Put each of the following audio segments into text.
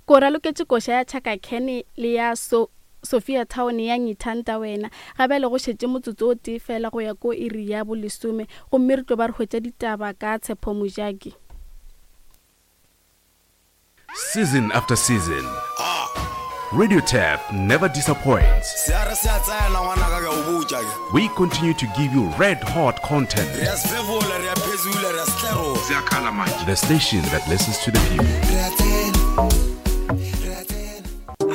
Ko raloketše koša ya Chaka Khan le ya so Sophia Town ya Ngithanta Wena. Ga bjale go šetše motsotso o tee fela go ya ko iri ya bolesome gomme re tlo ba re hwetša ditaba ka Tshepo Mojaki. Season after season, Radio Tap never disappoints. Se a re se a tsena ngwanaka ke a o botša ke. We continue to give you red hot content. Re a sefefola, re a phezula, re a setlerola. Ziyakhala manje. The station that listens to the people. Re a tsena, re a tsena.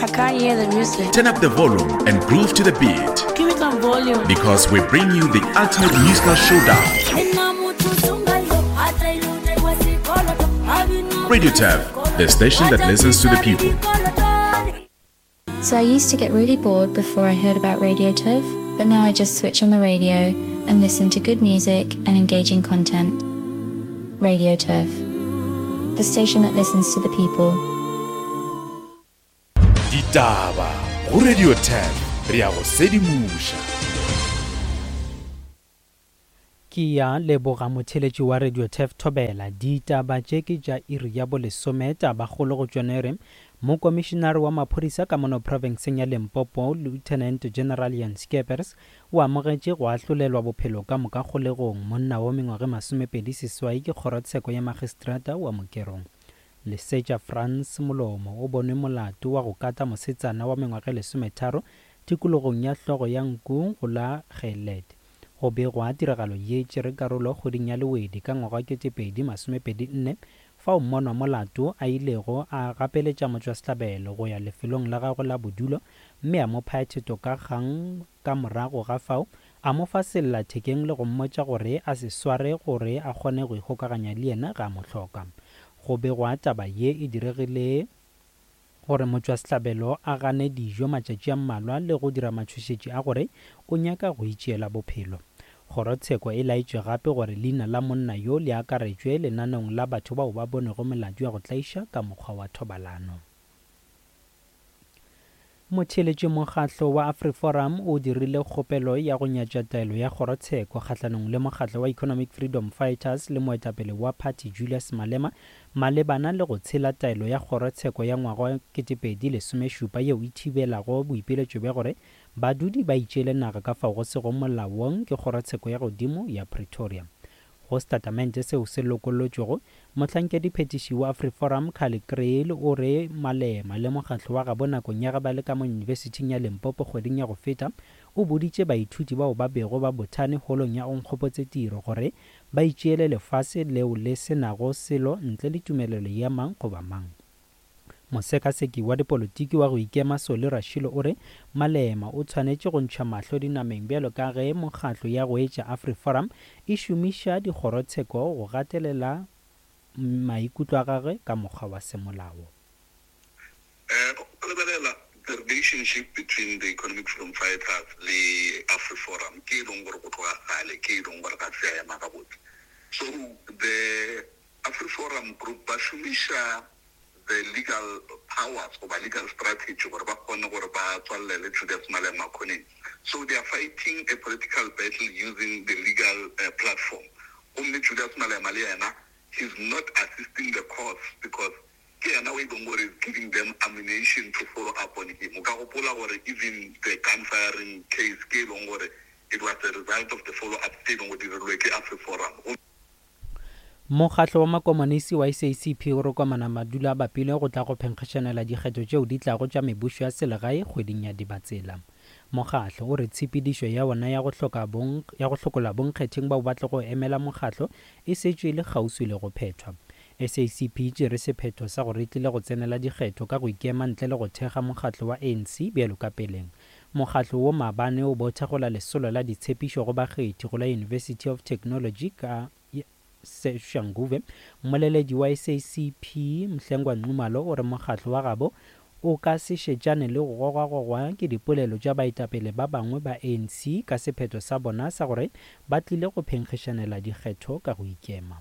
I can't hear the music. Turn up the volume and groove to the beat. Give me some volume. Because we bring you the ultimate musical showdown. Radio Tap, the station that listens to the people. So I used to get really bored before I heard about Radio Turf, but now I just switch on the radio and listen to good music and engaging content. Radio Turf, the station that listens to the people. Ditaba go Radio 10 re a go sedimoša. Ke ya leboga motheeletši wa Radio Turf Thobela. Ditaba tše ke tša iri ya bolesome. Tabakgolo go tšona e re, Mokomišinare wa maphodisa ka mono profenseng ya Limpopo, Lieutenant General Jan Scheepers, o amogetše go ahlolelwa bophelo ka moka kgolegong monna wa mengwaga e 28 ke kgorotsheko ya magistrata wa Mokerong. Lesetša Frans Molomo o bonwe molato wa go kata mosetsana wa mengwaga e 13 tikologong ya hlogo ya nku go la Gelet. Go begwa tiragalo ye e tšere karolo kgweding ya Lewedi ka ngwaga wa 2024 fao mmonwa molato a ilego a gapeletša motšwasehlabelo go ya lefelong la gagwe la bodulo mme a mo phaya theto ka kgang ka morago ga fao a mo fa sellathekeng le go mmotša gore a se sware gore a kgone go ikgokaganya le yena ge a mo hloka. Go begwa taba ye e diregile gore motšwasehlabelo a gane dijo matšatši a mmalwa le go dira matšhošetši a gore o nyaka go itšeela bophelo. Kgorotsheko e laetše gape gore leina la monna yo le akaretšwe lenaneong la batho bao ba bonego melato ya go tlaiša ka mokgwa wa thobalano. Motheeletši Mokgatlo wa AfriForum o dirile kgopelo ya go nyatša taelo ya kgorotsheko kgahlanong le mokgatlo wa Economic Freedom Fighters le moetapele wa phathi Julius Malema malebana le go tshela taelo ya kgorotsheko ya ngwaga wa 2017 yeo e thibelago boipiletšo bja gore badudi ba itšeele naga ka fao go sego molaong ke kgorotsheko ya godimo ya Pretoria. Go setatamente seo se lokollotšwego, mohlankediphetiši wa AfriForum Kallie Kriel o re Malema le mokgatlo wa gabo nakong ya ge ba le ka mo Yunibesithing ya Limpopo kgweding ya go feta o boditše baithuti bao ba bego ba bothane holong ya Onkgopotse Tiro gore ba itšeele lefase leo le se nago selo ntle le tumelelo ya mang goba mang. Mosekaseki wa dipolotiki wa go ikema Solly Rashilo o re Malema o tshwanetše go ntšha mahlo dinameng bjalo ka ge mokgatlo ya go etša AfriForum e šomiša dikgorotsheko go gatelela maikutlo a gagwe ka mokgwa wa semolao. O lebelela the relationship between the Economic Freedom Fighters le AfriForum ke e leng gore go tloga kgale ke e leng gore ga se ya ema gabotse. So the AfriForum group ba šomiša the legal powers goba legal strategy gore ba kgone gore ba tswalele Julius Malema khoneng. So they are fighting a political battle using the legal platform. Gomme Julius Malema le yena he's not assisting the cause because ke yena o e leng gore is giving them ammunition to follow up on him. O ka gopola gore even the gun firing case ke e leng gore it was a result of the follow up tse e leng gore di dirilwe ke AfriForum. Mokgatlo wa Makomonisi wa SACP o re komana madulo a bapile go tla go phenkgišanela dikgetho tšeo di tlago tša mebušo ya selegae kgweding ya Dibatsela. Mokgatlo o re tshepedišo ya wona ya go hloka bong ya go hlokola bonkgetheng bao ba tlogo emela mokgatlo e šetše e le kgauswi le go phethwa. SACP e tšere sephetho sa gore e tlile go tsenela dikgetho ka go ikema ntle le go thekga mokgatlo wa ANC bjalo ka peleng. Mokgatlo wo maabane o be o thekgola lesolo la ditshepišo go bakgethi go la University of Technology ka Soshanguve. Mmoleledi wa SACP, Mhlengwa Nxumalo o re mokgatlo wa gabo o ka se šetšane le go gogwagogwa ke dipolelo tša baetapele ba bangwe ba ANC ka sephetho sa bona sa gore ba tlile go phenkgišanela dikgetho ka go ikema.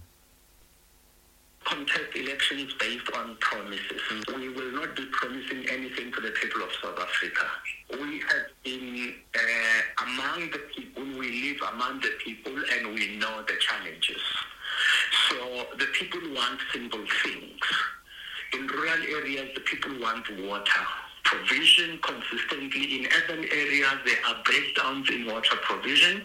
Contest elections based on promises. We will not be promising anything to the people of South Africa. We have been uh, among the people, we live among the people and we know the challenges. So the people want simple things. In rural rural areas, the people want water provision consistently. In urban areas, there are breakdowns in water provision.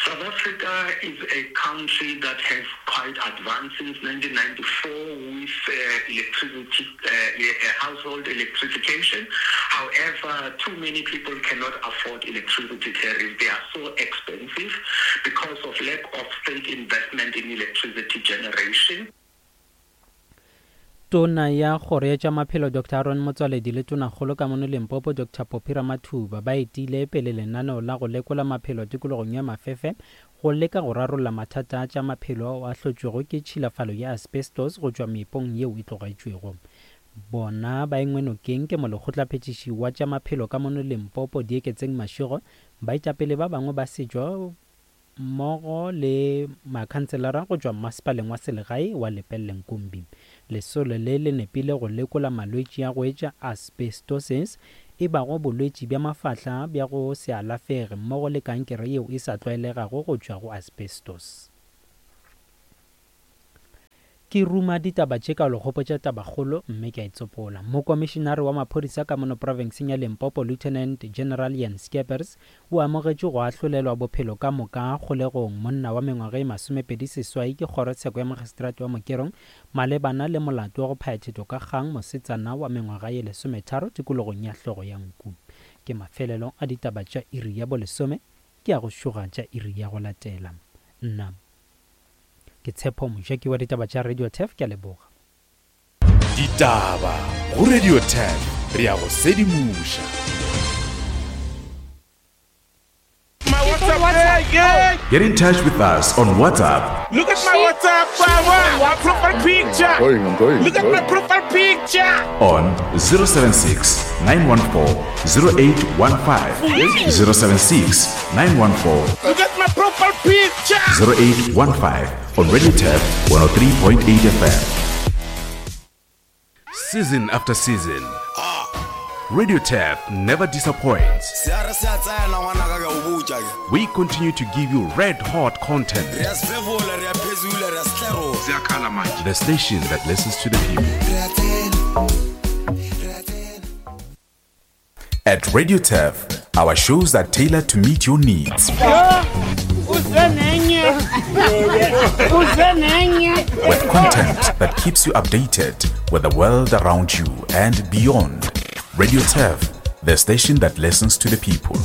South Africa is a country that has quite advanced since 1994 with uh, electricity, uh, uh, household electrification. However, too many people cannot afford electricity tariffs. They are so expensive because of lack of state investment in electricity generation. Tona ya Kgoro ya tša Maphelo Doctor Aaron Motsoaledi le Tonakgolo ka mono Limpopo Doctor Phophi Ramathuba ba etile pele lenaneo la go lekola maphelo tikologong ya Mafefe go leka go rarolla mathata a tša maphelo ao a hlotšwego ke tšhilafalo ya asbestos go tšwa meepong yeo e tlogetšwego. Bona ba engwe nokeng ke molekgotlaphethiši wa tša maphelo ka mono Limpopo Dieketseng Mashego, baetapele ba bangwe ba setšo mmogo le makhanselara go tšwa mmasepaleng wa selegae wa Lepelle-Nkumbi. Lesolo le le nepile go lekola malwetši a go etša asbestosis, e bago bolwetši bja mafahla bja go se alafege mmogo le kankere yeo e sa tlwaelegago go tšwa go asbestos. Ke ruma ditaba tše ka lo gopotša tabakgolo mme ke a e tsopola. Mokomišinare wa maphodisa ka mono profenseng ya Limpopo Lieutenant General Jan Scheepers o amogetše go ahlolelwa bophelo ka moka kgolegong monna wa mengwaga e 28 ke kgorotsheko ya magistrate wa Mokerong malebana le molato wa go phaya thetho ka kgang mosetsana wa mengwaga ye 13 tikologong ya hlogo ya nku. Ke mafelelo a ditaba tša iri ya bolesome ke a go šoga tša iri ya go latela. Nna Ke Tshepo Mojaki wa ditaba tša Radio Turf, ke a leboga. Ditaba go Radio Turf, re a go sedimoša. Get in touch with us on WhatsApp. Look at my WhatsApp, my profile picture. I'm going, I'm going, Look at my profile picture. On 076 914 0815. 076 914. Look at my profile picture. 0815 on Radio Tap 103.8 FM. Season after season, Radio Tap never disappoints. We continue to give you red hot content. The station that listens to the people. At Radio Turf, our shows are tailored to meet your needs. With content that keeps you updated with the world around you and beyond. Radio Turf, the station that listens to the people.